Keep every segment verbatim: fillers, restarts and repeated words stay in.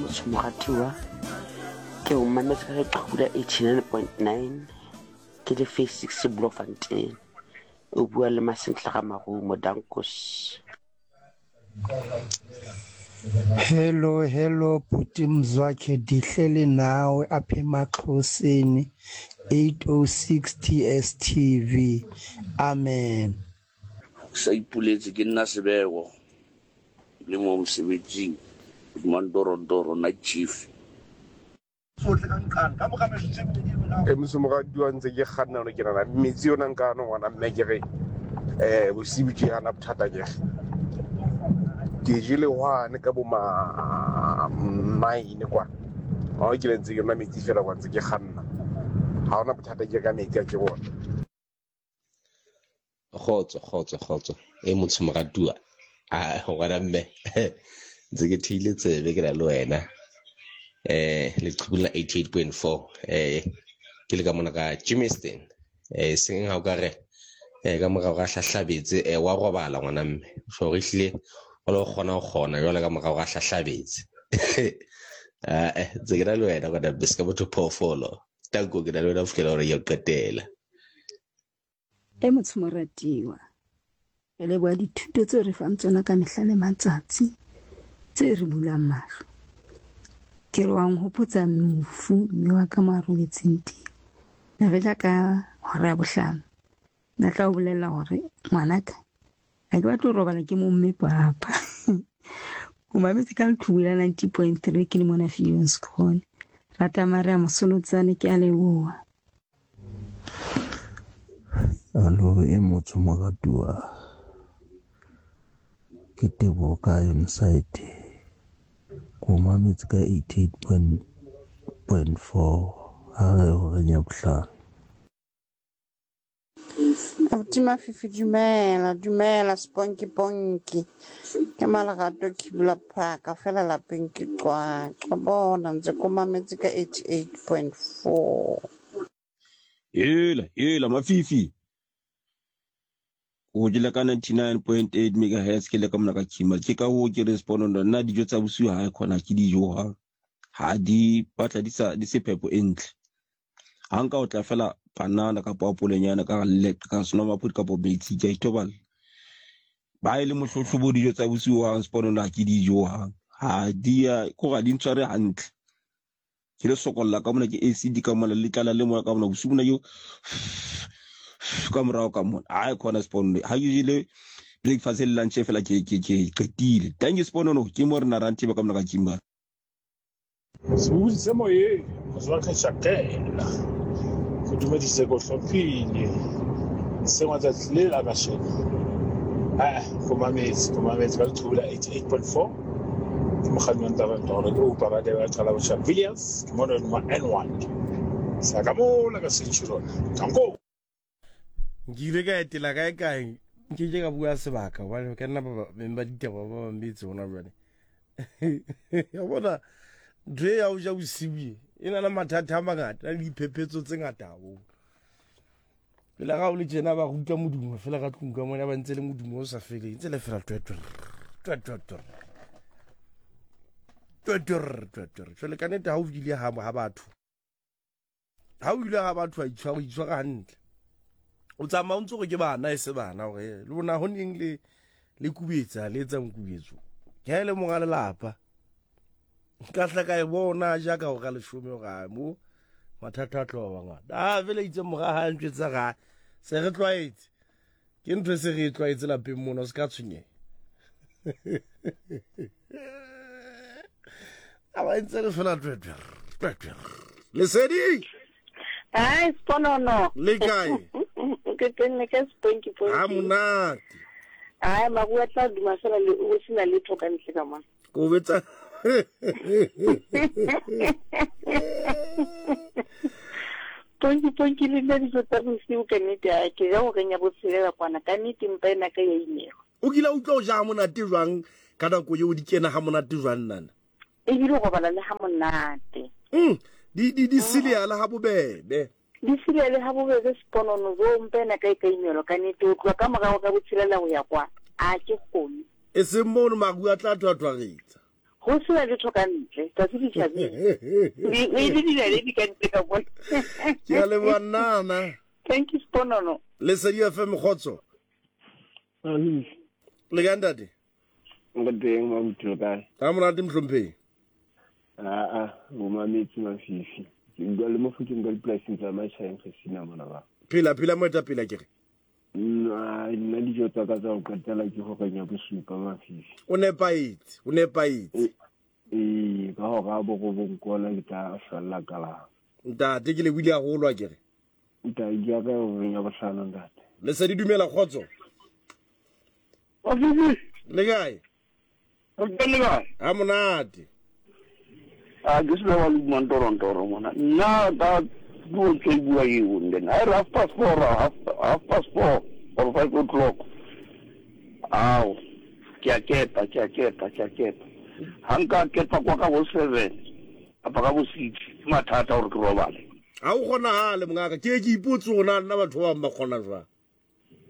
Motho moratuwa. Ke o mametse ka leqhubu la eighty-nine point nine ke le phase six Bloemfontein. O bua le Masentle ga Marumo Dankos. Hello hello bhuti Mzwakhe, dihleli nawe apha emaXhoseni eight oh six T S T V. Amen. Sa ipoletse ke nna Sebego le mo mosebetsing Mandorondoro night chief. E mosomoradi ntse ke kganna no ke nana metsi yona nka no ngwana mme ke re eh bosibu ke hana bothata ke ke jele hwane ka bo ma nine kwa ha ke le ntse ke nwa metsi fela kwa ntse ke kganna ha hona bothata ke ka metsi a ke bona. Kgotso kgotso kgotso e motho moratuwa a ngwana mme ntse ke theile tsebe ke na le wena eh leqhubu la eighty-eight point four eh ke le ka mona ka Germiston eh seng ha o ka re eh ka morao ga hlahlabetse eh wa robala ngwana mme so re hlile o lo kgona go kgona jwale ka morao ga hlahlabetse eh ntse ke na le wena ngwana mme se ka motho phoofolo tanko ke na le wena ho fihlela hore ya qetela. E motho moratiwa, re leboha dithuto tseo re fang tsona ka mehla le matsatsi tse re bulang mahlo. Ke re wa nhopotsa mofu mme wa ka mo a robetseng teng. Ne re ja ka hora ya bohlano. Na tla o bolella hore ngwanaka ha ke batle ho robala ke mo mme papa. O mametse ka leqhubu la ninety point three ke le mona Viljoenskroon. Rata Maria Mosolotsane, ke a leboha. Alo e motho moratuwa, ke Teboho ka Ironside. Ko mametse ka eighty-eight point four ha re horeng ya bohlano. Abuti Mafifi, dumela dumela sponky ponky. Ke Malerato Kibula Park fela lapeng ke Qwaqwa. Bona ntse ko mametse ka eighty-eight point four. Hela hela Mafifi, o jele ka ninety-nine point eight megahertz ke le ka mona ka Kimberley. Ke ka hoo ke respond nna dijo tsa bosiu ha e khona ke dijo ha ha di batla di sa di se phepo e ntle. Ha nka o tla fela banana kapa apolenyana ka le ka senomaphodi kapa metsi ke a itobala. Ba ile mohlohlobo dijo tsa bosiu ha sponono ha ke dijo ha ha di ya ko ga di ntshware hantle. Ke le sokolla ka mona ke A C D ka mona le tlala le moya ka mona bosiu bona yo ka morao ka mona ha e khona sponono ha ke jele breakfast le lunch fela ke ke ke qetile. Thank you sponono ke mo rena ranthe ba ka mona ka Kimberley. Sebodi se moyeng Mzwakhe Shakela go dumedise ko hlomphile sengwe tsatsi le la kasheno eh go mametse go mametse ka leqhubu la eighty-eight point four ke mokganni wa Ntarantoro ke upa ba ba qala botjha Villiers ke mona ma N one sa ka mola ka Centurion tanko. Nkile ka etela kae kae nke ke ka bua sebaka hobane ka nna ba beng ba ditaba ba bang betse hona jwale. Ya bona ntho e ya ho ja bosiu e na le mathata a mangata le diphephetso tse ngata haholo. Pele ga o le tjena ba go utlwa modumo fela ka tlung ka mona ba ntse le modumo o sa feleng ntse le fela twe twe twe twe twe twe twe twe. Jwale ka nnete ha o ile ha ha batho ha o ile ha batho a itshwara itshwara hantle. O tsamaya o ntse gore ke bana e se bana hore le bona ho neng le le kubetsa le etsa mokubetso. Ke ha e le monga lelapa nka tla ka e bona jaaka go ka leshome ga mo mathata a tlo ba bangata. Ah vele itse mora ha ntjwetsa ga se re tlwaetse ke ntho e se re tlwaetse lapeng mona o se ka tshwenyeha. A ba ntse re fela twe twe twe twe. Lesedi. Ai sponono. Le kae? Ke tenne ka sponky ponky. Ha monate. Ai maruo a tla duma fela le o sena letho ka ntle ka mona. Ko betsa Ponky ponky le nna dijo tsa bosiu ka nnete a ke ja horeng ya botshelela kwana ka nnete mpa ena ka ya imelwa. O kile utlwa o ja ha monate jwang ka nako eo di kena ha monate jwang nana? Ebile o robala le ha monate. Mm, di di di sileala ha bobebe. Di sileale ha bobebe sponono zo mpa ena ka e ka imelwa ka nnete o tloha ka morao ka botshelela ho ya kwa a ke kgone. E seng mono maruo a tla thwathwaretsa. Go sena letho ka ntle, tsatsi le tjhabile. E le dinaledi ka ntle ka bona. Ke a leboha nnana. Thank you Sponono. Lesedi F M kgotso. Le kae ntate? Nka teng mabuti le kae? Ha monate mohlomphehi. Aa, bo mametsi mafifi. Ke bua le Mofokeng ka dipolasing tsa Matjhaeng re sina mona ba. Phela phela moetapele ke re. Nna nna dijo tsa ka tsa ho qetela ke horeng ya bosupa mafifi. O nepahetse, o nepahetse. Ee, ka hora ya borobong kona ke tla hlwella kalama. Ntate ke lebohile haholo a ke re. Ntate ke ya ka horeng ya bohlano ntate. Lesedi dumela kgotso. Mafifi. Le kae? O teng le kae? Ha monate. A ke se wa le mantorontoro mona. Nna ka puo tse bua eo then I half past four, half, half past four or five o'clock. Ao, ke a kepa, ke a kepa, ke a kepa. Ha nka kepa kwa ka bo seven, kapa ka bo six, ke mathata hore ke robale. Ha o kgonahale mongaka, ke ke ipotse hore na nna batho ba bang ba kgona jwang.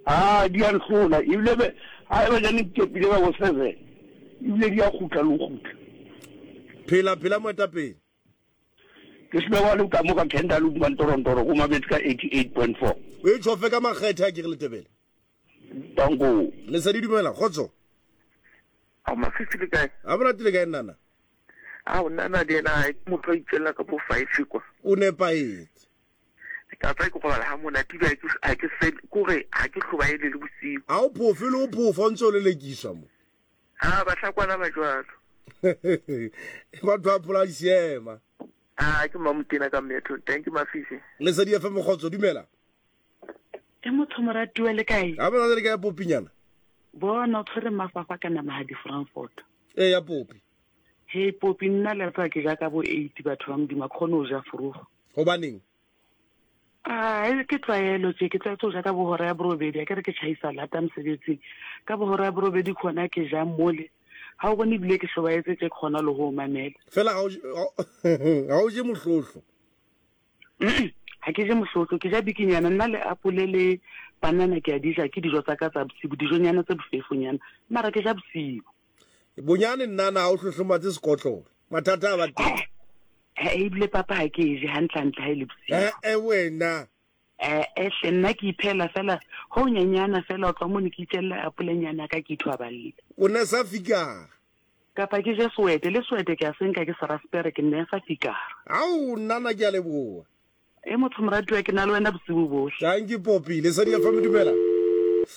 Ah, di a nhlola, ebile be ha eba jane ke kepile ka bo seven, ebile di a kgutla le ho kgutla. Phela phela moetapele. Ke se wa le ka mo ka Kendall mantorontoro go mabetse ka eighty-eight point four. O e tshofe ka makgethe a ke re letebele. Tango. Lesedi dumela kgotso. A mafifi le kae? A monate le kae nnana? A nna le ena motho a itsela ka bo five kwa. O nepahetse. Ka tla ke robala ha monate ba ke a ke se kore ha ke hlobaele le bosiu. Ha o phofe le o phofa o ntse o lelekiswa mo. Ha ba hlakwana ba jwalo. Batho ba phola seema. Ah, ke mamotena ka metho. Thank you Mafifi. Lesedi F M kgotso dumela. E motho moratuwa le kae? Ha bona le kae popinyana? Bona o tshwere mafafa ka nama ha di Frankfurt. E ya popi. He popi nna le tsa ke ja ka bo eight batho ba modimo khone o ja forogo. Hobaneng? Ah, ke tlwaelo tje ke tlwaetse ho ja ka bo hora ya borobedi, a ke re ke tjhaisa lata mosebetsing. Ka bo hora ya borobedi khona ke ja mole. Ha o bone ebile ke hlobaetse tje khona le ho mamela. Fela ha o je mohlohlo. Ha ke je mohlohlo, ke ja bikinyana nna le apole le banana ke a di ja, ke dijo tsa ka tsa bosibu, dijonyana tse bofefonyana, mara ke ja bosibu. Bonyane nnana ha o hlohlomatse sekotlolo. Mathata a ba teng. Eh, ebile papa ha ke e je hantlentle ha e le bosiu. Eh, eh wena. Eh, eh hle nna ke iphela fela ho nyenyana fela o tla mo ne ke itjella apolenyana ka ke ithwaballe. O ne sa fikara. Kapa ke je swete le swete ke a senka ke sa raspberry ke nne sa fikara. Ao nnana ke a leboha. E motho moratuwa ke na le wena bosiu bohle. Thank you Poppy. Lesedi F M dumela.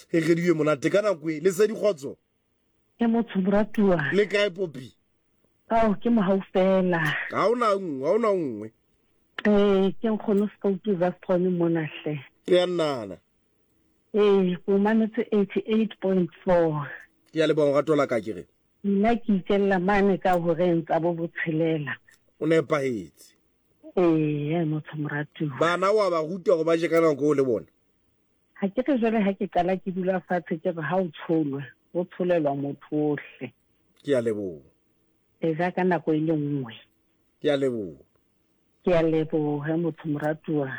E re diwe monate ka nako e. Lesedi kgotso. Ke motho moratuwa. Le kae Poppy? Ao ke mohau fela. Ha ona nngwe, ha ona nngwe. Eh, ke nkgono Skoutu Zastron mona hle. Ke ya nnana. Eh, o mametse eighty-eight point four. Ke ya leboha rato la ka ke re. Nna ke itjella mane ka horeng tsa bo botshelela. O nepahetse. Eh, motho moratuwa. Bana wa ba ruta hore ba je ka nako o le bona. Ha ke re jwale ha ke qala ke dula fatshe ke re ha o tsholwe, o tsholelwa motho ohle. Ke ya leboha. E ja ka nako e le nngwe. Ke ya leboha. Ke a leboha motho moratuwa.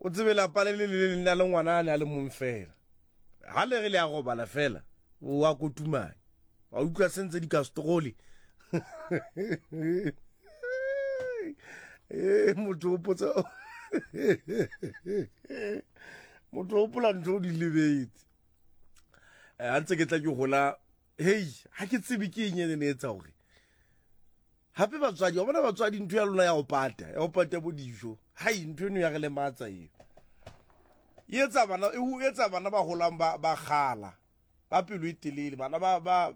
O tsebe lapa le le le le le ngwana a ne a le mong fela. Ha le re le a robala fela, o wa kotumanya. Wa utlwa sentse di kastroli. Eh motho o potsa. Motho o pola ntho di lebetse. Eh ha ntse ke tla ke hola, hey, ha ke tsebe ke eng e ne etsa hore. Hape batswadi, wa bona batswadi ntho ya lona ya ho pata, ya ho pata bo dijo. Hai ntho eno ya re lematsa eo. E etsa bana, e etsa bana ba holang ba ba kgala. Ba pelo e telele, bana ba ba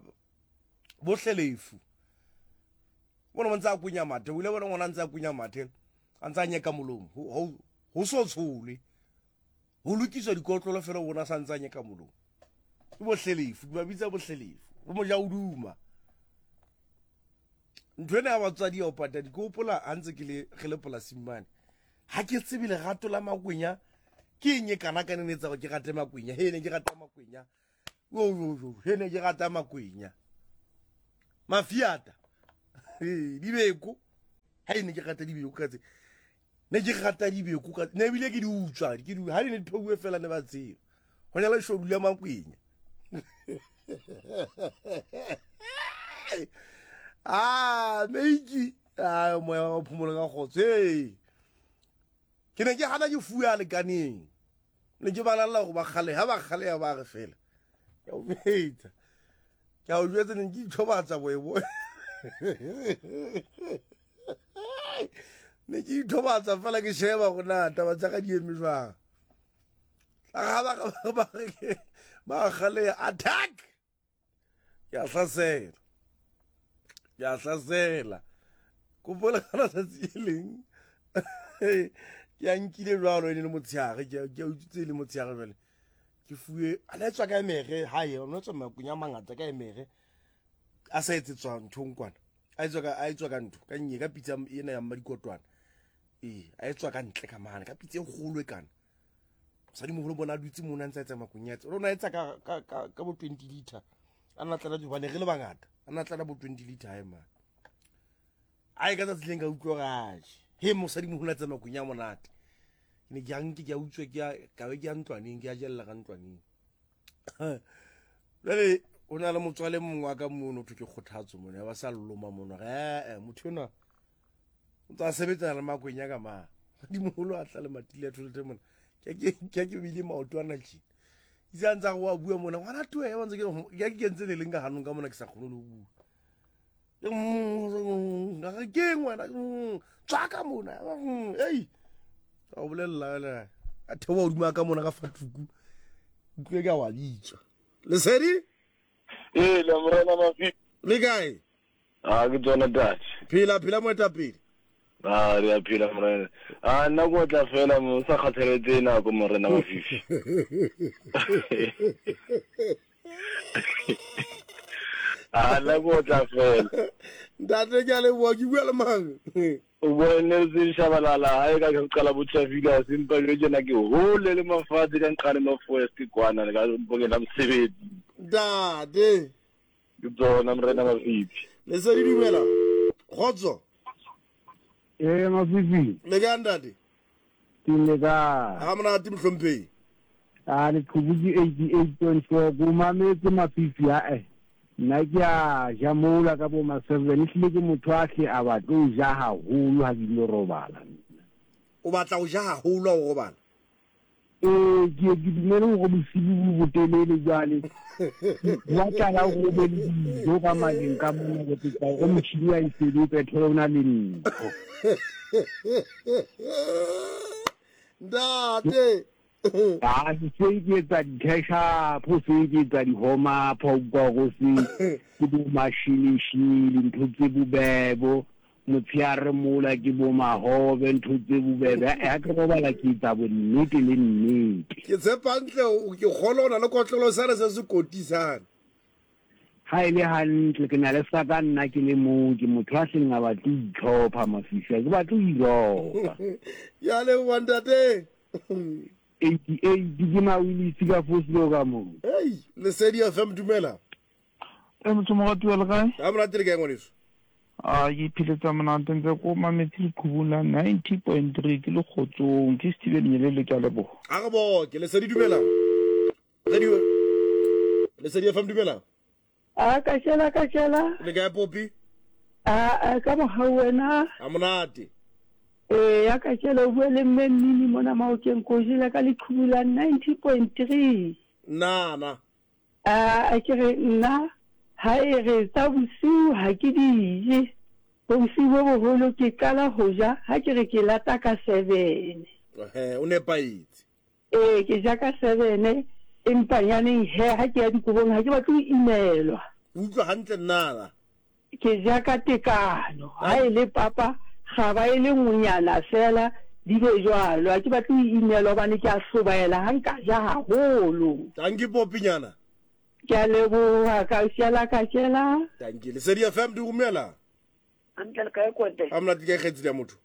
bohlelefu. Bona ntse a kunya mathe, o ile bona ngwana ntse a kunya mathe, a ntse a nyeka molomo. Ho ho so tshole. Ho lokiswa dikotlolo fela bona sa ntse a nyeka molomo. Ke bohlelefu, ba bitsa bohlelefu. Bo moja o duma. Ntho ena ya batswadi ya ho pata di ke hopola ha ntse ke le re le polasing mane. Ha ke tsebe lerato la makwenya ke eng e kana ka ne etsa hore ke rate makwenya. He ne ke rata makwenya. Yo yo yo, he ne ke rata makwenya. Mafiata. Eh, dibeko. Ha ne ke rata dibeko ka tse. Ne ke rata dibeko ka ne bile ke di utswa, ke di ha di ne di pheuwe fela ne ba tseba. Ho nyala shodu la makwenya. Ah, meiki. Ah, moya wa phomolo ka kgotso. Hey. Ke ne ke hana ke fuwa lekaneng. Ne ke balalla go ba kgale, ha ba kgale ya ba re fela. Ke o betsa. Ke a o jwetsa ne ke ithobatsa boebo. Ne ke ithobatsa fela ke sheba go na taba tsa ka di eme jwang. Tla ba ba ba ba kgale attack. Ke a hlasela. Ke a hlasela. Kopola kana tsatsi le leng. Ke a nkile jwalo ene le motshehare, ke a utswitse le motshehare jwale. Ke fuwe a le tswa ka emere hae, o no tswa makunya mangata ka emere. A sa etsetswa nthong kwana. A etswa ka a etswa ka ntho, ka nnye ka pitsa ena ya mmadikotwana. Ee, a etswa ka ntle ka mane, ka pitsa e kgolo e kana. Mosadi moholo bona a dutse mona a ntse a etsa makunya. Rona etsa ka ka ka bo twenty liter. A nna tlala hobane re le bangata. A nna tlala bo twenty liter hae mane. Ai ka tsatsi leng ka utlwa gae. He mosadi moholo a tsa makunya monate. Ke ne ke a nke ke a utswe ke a ka be ke a ntlwaneng, ke a jella ka ntlwaneng. Jwale o na le motswale mongwe wa ka mono thwe ke kgothatso mono, ya ba sa loma mono. Eh, motho enwa o ntse a sebetsana le makwenya ka mang. Mosadi moholo a tla le matile a tholete mona. Ke ke ke ke bile maoto ana tjena. Itse a ntse a re wa bua mona, ngwana toe, wa ntse ke ke ke kentse le leng ka hanong ka mona ke sa kgone le ho bua. Ke ke ngwana tswa ka mona. Ei. Ka o bolella le a theoha hodimo ka mona ka fatuku. Utlwe ka wa bitswa. Lesedi? Eh, la morena Mafi. Le kae? Ah, ke tsona ntate. Phela phela moetapele. Ah, re a phela morena. Ah, nna go tla fela mo sa kgathaletse nako morena Mafifi. Ah, nna go tla fela. Ntate ke a leboha, ke bua le mang? O bua Nelson Shabalala, ha e ka ke qala botjhafile sempa jwe tjena ke hole le mafatshe ka nqane ma forest kwana le ka mpokela mosebetsi. Ntate. Ke tsona morena Mafifi. Lesedi dumela. Kgotso. Eh Mafifi. Le kae ntate? Ke le kae? Ha monate mohlomphehi. Ah, le qhubuki eighty-eight point four go mametse Mafifi ha eh. Nna ke a ja mola ka bo ma seven, ehlile ke motho a hle a batle ho ja haholo ha ke ilo robala. O batla ho ja haholo ha o robala? Ee, ke ke dumele hore bosibu bo botelele jwale. Wa tlala ho be le dijo ka maleng ka mona ke tla hore motjhini wa e sebetsa thole o na le ntho. Ntate. Ah, ke se ke etsa di-cash up, se ke etsa di-home up, ho utlwa hore se ke bo mashinishini, ntho tse bobebo, motshehare mola ke bo mahobe, ntho tse bobebe. Ha ke robala ke etsa bonnete le nnete. Ke tshepa hantle, ke kgolwa o na le kotlolo sane se se kotisang. Ha e le hantle, ke na le sa ka nna ke le mong, ke motho a seng a batle ho itlhopha Mafifi, ha ke batle ho iropa. Ya leboha ntate. eighty-eight ke mawilisi ka Foslo ka moo. Hey, Lesedi F M dumela. Eh motho moratuwa le kae? Ha monate le kae ngwaneso? Ah, ke ipheletsa monate ntse ko mametse leqhubu la ninety point three ke le kgotsong, ke Steven Nyelele ke a leboha. A re bo, ke Lesedi dumela. Radio Lesedi F M dumela. Ah, ka shela ka shela. Le kae Popi? Ah, ka mohau wena. Ha monate. Eh, ya ka tshela o bue le mme Mmini mona Maokeng ko jela ka leqhubu la ninety point three. Na na. Ah, a ke re nna ha e re tsa bosiu ha ke di je. Bosiu bo boholo ke qala ho ja ha ke re ke lata ka seven. Eh, o nepahetse. Eh, ke ja ka seven empa nyaneng he ha ke ya dikobong ha ke batle ho imelwa. Utlwa hantle nna. Ke ja ka tekano. Ha e le papa ga ba e le nngwenyana fela di be jwalo, ha ke batle ho imelwa hobane ke a hlobaela ha nka ja haholo. Thank you Popinyana. Ke a leboha ka shela ka shela. Thank you. Lesedi F M dumela. Hantle le kae kwete? Ha monate ke kgetsi ya motho.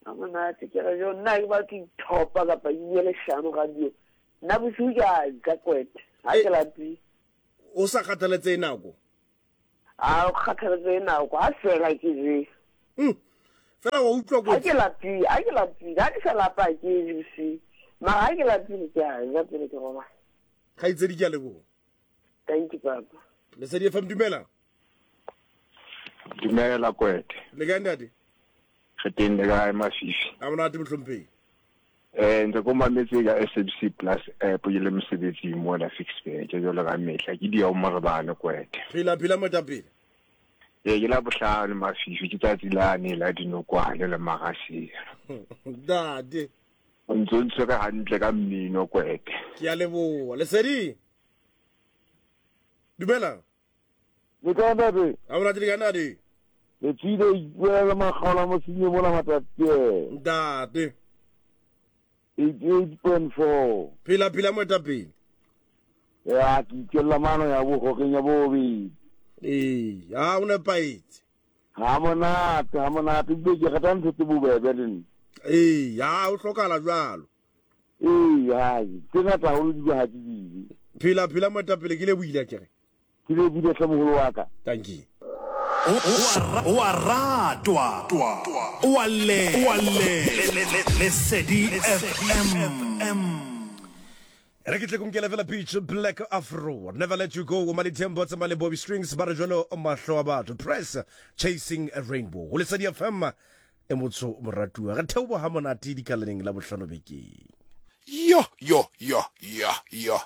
Ha monate ke re jo nna ke batla ithopa kapa ke bue leshano radio. Nna bosiu ke a ja kwete. Ha ke lapile. O sa kgathaletse nako? A o kgathaletse nako ha fela ke je. Mm. Fela wa utlwa kotsi. Ha ke lapile, ha ke lapile, ha ke sa lapa ke je bosiu. Mara ha ke lapile ke a ja pele ke robala. Kgaitsedi ke a leboha. Thank you papa. Lesedi F M dumela. Dumela Kwete. Le kae ntate? Re teng le kae Mafifi? A monate mohlomphehi. Eh ntse ko mametse ka S A B C Plus app ke le mosebetsing mona Ficksburg jwalo ka mehla ke dia o morebane Kwete. Phela phela moetapele. Ee ke la bohlano Mafifi ke tsatsi lane la dinokwane le magasela. Ntate. O ntse o ntshwere hantle ka mmino Kwete. Ke a leboha. Lesedi. Dumela. Le kae ntate? A monate le kae ntate? Le tsile ipuela le makgaola mosenyi mola Matatiele. Ntate. eighty-eight point four. Phela phela moetapele. Ya ke itjella mano ya bohoreng ya bobedi. Ee, ha o nepahetse. Ha monate, ha monate ebile ke rata ntho tse bobebe le nna. Ee, ha o hlokahala jwalo. Ee, hai, tse ngata haholo di ha ke di. Phela phela moetapele ke lebohile akere. Ke lebohile hle moholo wa ka. Thank you. O a ratwa, o a le, o a le, Lesedi F M. Re ke tle kunkele fela Peach Black Afro Never Let You Go o Malitembo tsa male Bobby Strings ba re jwalo mahlo a batho Press Chasing a Rainbow. Ho Lesedi F M e motso moratuwa re theoha ha monate dikalaneng la bohlano bekeng. Yo yo yo yo yo.